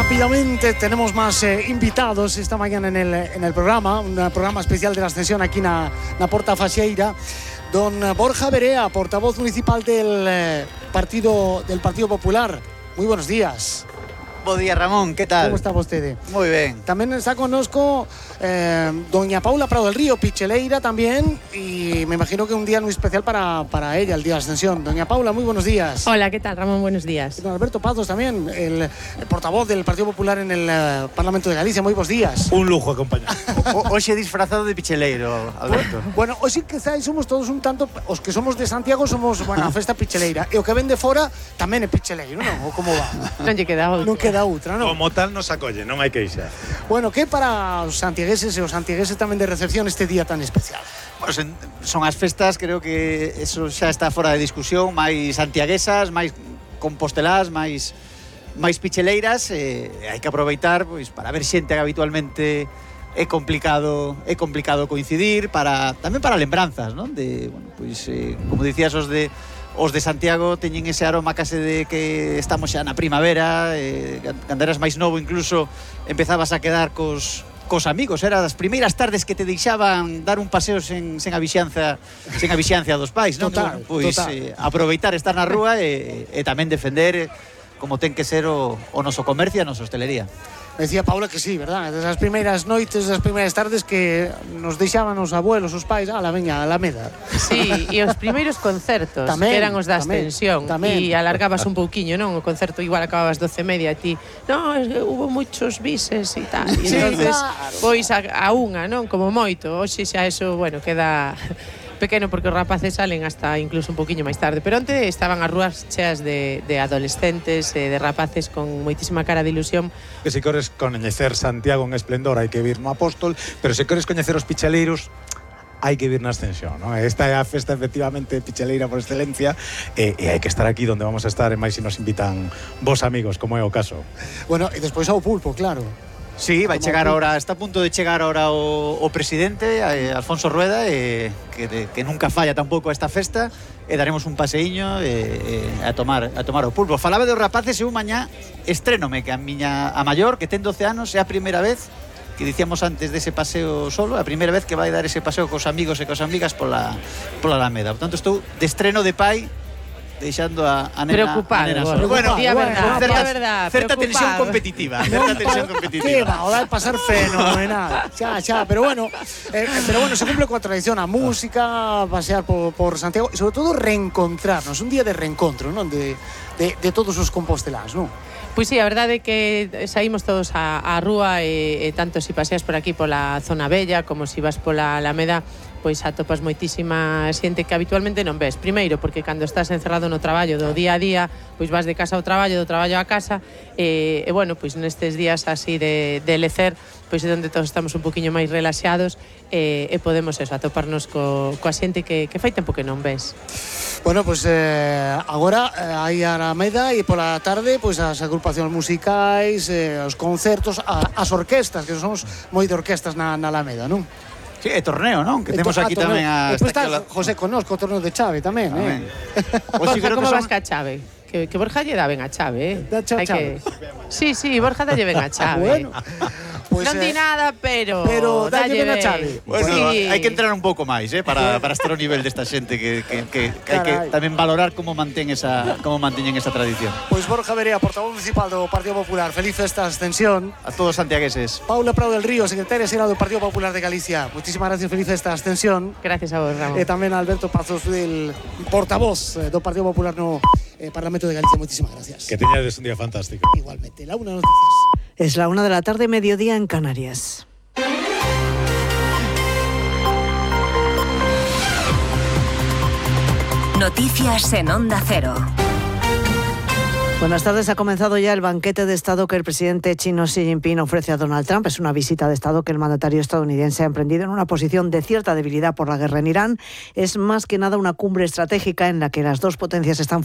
Rápidamente tenemos más invitados esta mañana en el programa, un programa especial de la Ascensión aquí en la Porta Faxeira. Don Borja Verea, portavoz municipal del Partido Popular. Muy buenos días. Bo día, Ramón, ¿qué tal? ¿Cómo está vostede? Muy bien. También está conozco doña Paula Prado del Río, picheleira también, y me imagino que un día muy especial para ella, el Día de la Ascensión. Doña Paula, muy buenos días. Hola, ¿qué tal, Ramón? Buenos días. Don Alberto Pazos también, el portavoz del Partido Popular en el Parlamento de Galicia. Muy buenos días. Un lujo acompañar. Hoy he disfrazado de picheleiro, Alberto. Bueno, hoy sí quizás somos todos un tanto, os que somos de Santiago somos, a festa picheleira, e o que ven de fora tamén é picheleiro, non? Ou como va? Non lle queda outra. Non queda outra, non? Como tal nos acolle, non hai queixa. Bueno, que para os santiegueses e os santiegueses tamén de recepción este día tan especial? Bueno, son as festas, creo que eso xa está fora de discusión, máis santiaguesas, máis compostelás, máis picheleiras, hai que aproveitar pois para ver xente que habitualmente é complicado coincidir, tamén para lembranzas, non? De, bueno, pois como dicías, os de Santiago teñen ese aroma case de que estamos xa na primavera, cando eras máis novo incluso empezabas a quedar cos amigos, era das primeiras tardes que te deixaban dar un paseo sen a vixianza dos pais, non? Total, Pois total. aproveitar estar na rúa e tamén defender como ten que ser o noso comercio e a nosa hostelería. Decía Paula que sí, verdad? Desas primeiras noites, das primeiras tardes que nos deixaban os abuelos, os pais, veña, a Alameda. Sí, e os primeiros concertos, tamén, que eran os da Ascensión, e alargabas un pouquiño, non? O concerto igual acababas 12:30 e ti, non, hubo muchos bises e tal. E Sí, entonces, claro. pois a unha, non? Como moito. Hoxe xa eso, bueno, queda pequeno porque os rapaces salen hasta incluso un poquinho máis tarde, pero onte estaban as rúas cheas de adolescentes, de rapaces con moitísima cara de ilusión. Que se queres coñecer Santiago en esplendor hai que vir no Apóstol, pero se queres coñecer os picheleiros hai que vir na Ascensión, non? Esta é a festa efectivamente picheleira por excelencia e hai que estar aquí donde vamos a estar, e máis se nos invitan vos amigos, como é o caso. Bueno, e despois ao pulpo, claro. Sí, vai chegar ahora, está a punto de chegar ahora o presidente, Alfonso Rueda, que nunca falla tampouco esta festa, e daremos un paseíño a tomar o pulpo. Falaba dos rapaces e un mañá estrénome que a maior, que ten 12 anos, é a primeira vez que dicíamos antes dese paseo solo, a primeira vez que vai dar ese paseo cos amigos e cos amigas pola Alameda. Por tanto, estou de estreno de pai, deixando a nena. Preocupado, Bueno, verdad, certa tensión competitiva. Que va, o vai pasar fenomenal. Xa, pero bueno, se cumple coa tradición, a música, pasear por Santiago e sobre todo reencontrarnos, un día de reencontro, non? De todos os composteláns, non? Pois sí, a verdade é que saímos todos á rúa e tanto se paseas por aquí pola zona bella como se vas pola Alameda, pois atopas moitísima xente que habitualmente non ves. Primeiro, porque cando estás encerrado no traballo do día a día, pois vas de casa ao traballo, do traballo á casa, e bueno, pois nestes días así de lecer, pois é onde todos estamos un poquinho máis relaxados e podemos eso, atoparnos coa xente que fai tempo que non ves. Bueno, pois agora hai a Alameda e pola tarde pois as agrupacións musicais, os concertos, as orquestas, que somos moi de orquestas na Alameda, non? Sí, é torneo, non? Que temos aquí tamén a... Despois está José Conozco, o torneo de chave tamén, Borja, como vas ca chave? Que Borja lle dá ben a chave, Da chave. Sí, Borja dalle ben a chave. Bueno, pues, non di nada, pero dalle ben a chave. Bueno, sí. hai que entrar un pouco máis, para estar ao nivel desta xente que hai que tamén valorar como manteñen esa tradición. Pois Borja Verea, portavoz municipal do Partido Popular, feliz festa Ascensión. A todos santiagueses. Paula Prado del Río, secretaria xeral do Partido Popular de Galicia. Muchísimas gracias, feliz festa Ascensión. Gracias a vos, Ramón. E tamén a Alberto Pazos, del portavoz do Partido Popular no Parlamento de Galicia. Muchísimas gracias. Que teñades un día fantástico. Igualmente, la una noticias. Es la 1 de la tarde, mediodía en Canarias. Noticias en Onda Cero. Buenas tardes. Ha comenzado ya el banquete de Estado que el presidente chino Xi Jinping ofrece a Donald Trump. Es una visita de Estado que el mandatario estadounidense ha emprendido en una posición de cierta debilidad por la guerra en Irán. Es más que nada una cumbre estratégica en la que las dos potencias están